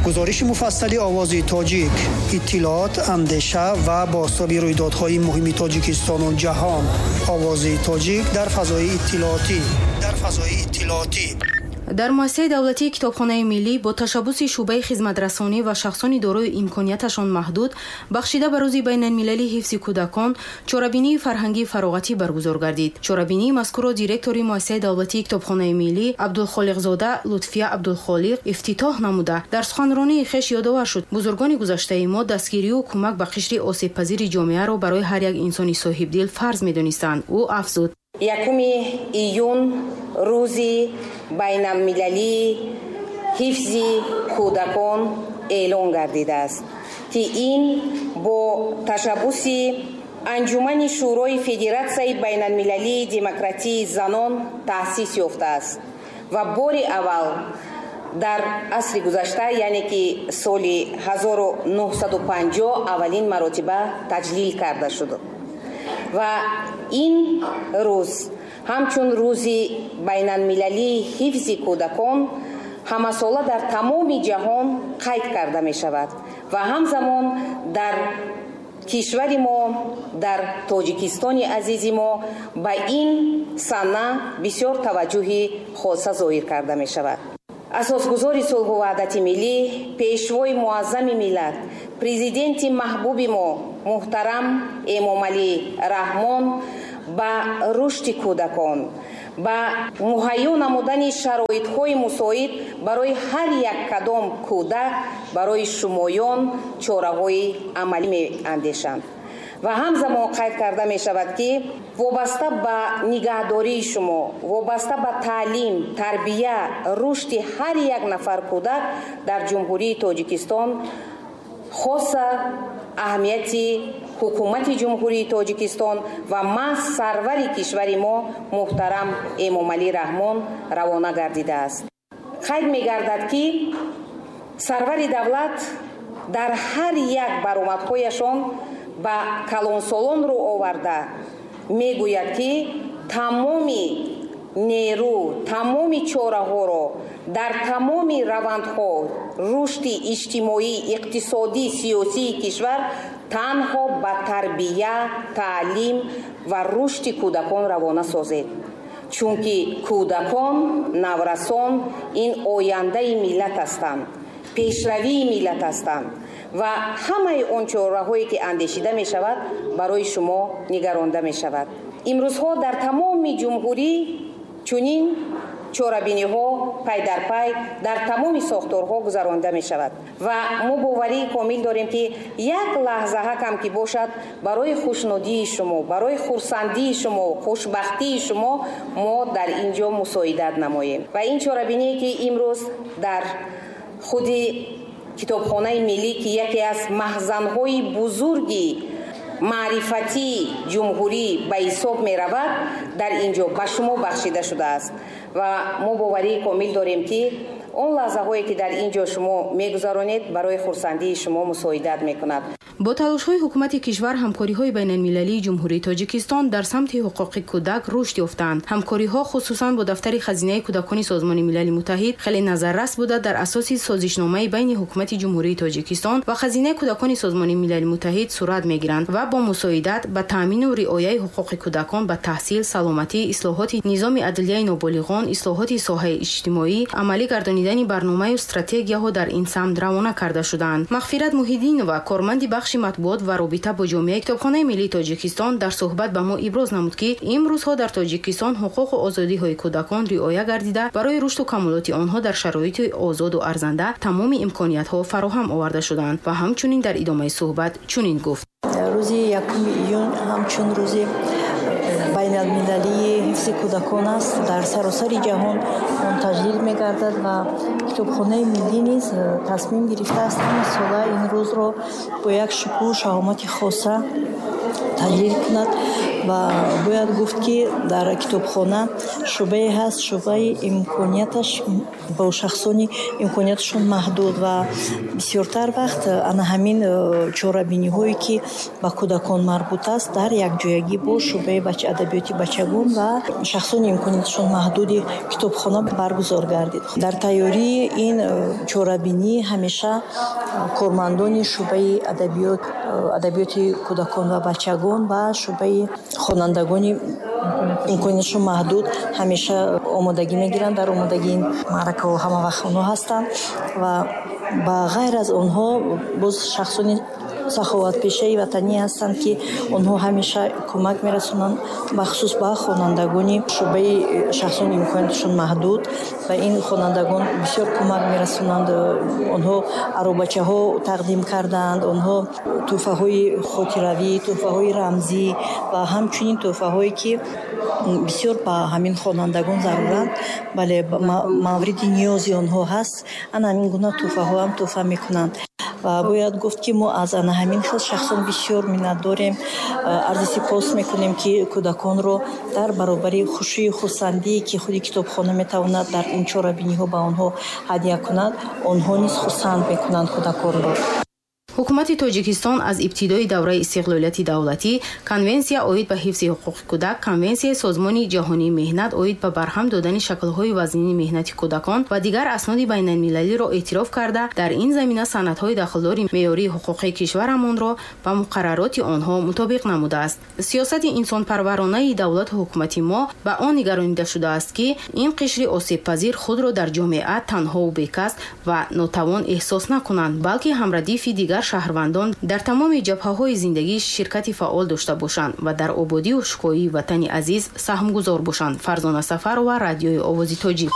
Гузориши муфассали «Овози тоҷик», иттилоот, андеша ва бозтоби рӯйдодҳои муҳими Тоҷикистону ҷаҳон. «Овози тоҷик» дар фазои иттилоотӣ, дар фазои иттилоотӣ. Дар муассисаи давлатии Китобхонаи миллӣ бо ташаббуси шӯъбаи хизматрасонӣ ва шахсони дорои имконияташон маҳдуд, бахшида ба Рӯзи байналмилалии ҳифзи кӯдакон, чорабинии фарҳангии фароғатӣ баргузор гардид. Чорабинии мазкурро директори муассисаи давлатии Китобхонаи миллӣ Абдулхолиқзода Лутфия Абдулхолиқ ифтитоҳ намуда, дар суханронии хеш ёдовар шуд: бузургони гузаштаи мо дастгирию кӯмак ба қишри осебпазири ҷомеаро барои ҳар як инсони соҳибдил фарз медонистанд. Ӯ афзуд: 1 июн Рӯзи байналмилалии ҳифзи кӯдакон эълон гардидааст, ки ин бо ташаббуси Анҷумани Шӯрои Федератсияи байналмилалии демократии занон таъсис ёфтааст ва бори аввал дар асри гузашта, яъне ки соли 1950, аввалин маротиба таҷлил карда шуд. Ва ин рӯз ҳамчун Рӯзи байналмилалии ҳифзи кӯдакон ҳамасола дар тамоми ҷаҳон қайд карда мешавад ва ҳамзамон дар кишвари мо, дар Тоҷикистони азизи мо, ба ин сана бисёр таваҷҷӯҳи хоса зоҳир карда мешавад. Асосгузори сулҳу ваҳдати миллӣ, Пешвои муаззами миллат, Президенти маҳбуби мо муҳтарам Эмомалӣ Раҳмон ба рушди кӯдакон, ба муҳайё намудани шароитҳои мусоид барои ҳар як кадом кӯдак, барои шумоён чораҳои амалӣ меандешанд. Ва ҳамзамон қайд карда мешавад, ки вобаста ба нигаҳдории шумо, вобаста ба таълим, тарбия, рушди ҳар як нафар кӯдак дар Ҷумҳурии Тоҷикистон хоса аҳамияти Ҳукумати Ҷумҳурии Тоҷикистон ва маҳз сарвари кишвари мо муҳтарам Эмомалӣ Раҳмон равона гардидааст. Қайд мегардад, ки сарвари давлат дар ҳар як баромадҳояшон ба калонсолон рӯ оварда мегӯяд, ки тамоми нерӯ, тамоми чораҳоро дар тамоми равандҳо рушди иҷтимоӣ, иқтисодӣ, сиёсии кишвар танҳо ба тарбия, таълим ва рушди кӯдакон равона созед, чунки кӯдакон, наврасон ин ояндаи миллат ҳастанд, пешравии миллат ҳастанд ва ҳамаи он чораҳое, ки андешида мешавад, барои шумо нигаронда мешавад. Имрӯзҳо дар тамоми ҷумҳурӣ чунин чорабиниҳо пай дар пай дар тамоми сохторҳо гузаронида мешавад ва мо боварии комил дорем, ки як лаҳзаҳакам ки бошад, барои хушнудии шумо, барои хурсандии шумо, хушбахтии шумо мо дар ин ҷо мусоидат намоем. Ва ин чорабиние, ки имрӯз дар худи Китобхонаи миллӣ, ки яке аз маҳзанҳои бузурги маърифатии ҷумҳурӣ ба ҳисоб меравад, дар ин ҷо ба шумо бахшида шудааст ва мо боварии комил дорем, ки он лаҳзаҳое, ки дар ин ҷо шумо мегузаронед, барои хурсандии шумо мусоидат мекунад. Бо талошҳои ҳукумати кишвар ҳамкориҳои байналмилалии Ҷумҳурии Тоҷикистон дар самти ҳуқуқи кӯдак рушд ёфтаанд. Ҳамкориҳо хусусан бо дафтари Хазинаи кӯдакони Созмони Милали Муттаҳид хеле назаррас буда, дар асоси созишномаи байни Ҳукумати Ҷумҳурии Тоҷикистон ва Хазинаи кӯдакони Созмони Милали Муттаҳид сурат мегиранд ва бо мусоидат ба таъмину риояи ҳуқуқи кӯдакон ба таҳсил, саломатӣ, ислоҳоти низоми адлияи ноболиғон, ислоҳоти соҳаи иҷтимоӣ, амалӣ гардонидани барномаю стратегияҳо дар ин самт равона карда шудаанд. Мағфират Муҳиддинова, корманди бахши матбуот ва робита бо ҷомеаи Китобхонаи миллии Тоҷикистон, дар суҳбат ба мо иброз намуд, ки имрӯзҳо дар Тоҷикистон ҳуқуқу озодиҳои кӯдакон риоя гардида, барои рушду камолоти онҳо дар шароити озоду арзанда тамоми имкониятҳо фароҳам оварда шудаанд ва ҳамчунин дар идомаи суҳбат чунин гуфт: Рӯзи 1 июн ҳамчун Рӯзи байналмилалии ҳифзи кӯдакон аст. Дар саросари ҷаҳон он таҷлил мегардад ва Китобхонаи миллӣ низ тасмим гирифтааст, ҳама сола ин рӯзро бо як шукӯҳу шаҳомати хоса таҷлил кунад. Ва бояд гуфт, ки дар китобхона шӯъбае ҳаст, шӯъбаи имконияташ бо шахсони имконияташон маҳдуд, ва бисёртар вақт ана ҳамин чорабиниҳое, ки ба кӯдакон марбут аст, дар якҷоягӣ бо шӯъбаи адабиёти бачагон ва шахсони имконияташон маҳдуди китобхона баргузор гардид. Дар тайёрии ин чорабинӣ ҳамеша кормандони шӯъбаи адабиёти кӯдакон ва бачагон ва шӯъбаи хонандагони имконияташон маҳдуд ҳамеша омодагӣ мегиранд. Дар омодагии ин маъракаҳо ҳама вақт онҳо ҳастанд ва ба ғайр аз онҳо боз шахсони саховатпешаи ватанӣ ҳастанд, ки онҳо ҳамеша кӯмак мерасонанд, бахусус ба хонандагони шӯъбаи шахсони имконияташон маҳдуд. Ба ин хонандагон бисёр кӯмак мерасонанд. Онҳо аробачаҳо тақдим кардаанд, онҳо тӯҳфаҳои хотиравӣ, тӯҳфаҳои рамзӣ ва ҳамчунин тӯҳфаҳое, ки бисёр ба ҳамин хонандагон заруранд, бале, мавриди ниёзи онҳо ҳаст, ана ҳамин гуна тӯҳфаҳоам тӯҳфа мекунанд. Ва бояд гуфт, ки мо аз ана ҳамин хел шахсон бисёр миннат дорем, арзи сипос мекунем, ки кӯдаконро дар баробари хушию хурсандие, ки худи китобхона метавонад дар ин чорабиниҳо ба онҳо ҳадя кунад, онҳо низ хурсанд мекунанд кӯдаконро. Ҳукумати Тоҷикистон аз ибтидои давраи истиқлолияти давлатӣ Конвенсия оид ба ҳифзи ҳуқуқи кӯдак, Конвенсияи Созмони Ҷаҳонии меҳнат оид ба барҳам додани шаклҳои вазнини меҳнати кӯдакон ва дигар асноди байналмилалиро эътироф карда, дар ин замина санадҳои дахлдори меъёрии ҳуқуқии кишварамонро ба муқаррароти онҳо мутобиқ намудааст. Сиёсати инсонпарваронаи давлату ҳукумати мо ба он нигаронида шудааст, ки ин қишри осебпазир худро дар ҷомеа танҳову бекас ва нотавон эҳсос накунанд, балки ҳамрадифи дигар шаҳрвандон дар тамоми ҷабҳаҳои зиндагӣ ширкати фаъол дошта бошанд ва дар ободию шукӯҳии ватани азиз саҳмгузор бошанд. Фарзона Сафарова, Радиои Овози Тоҷик.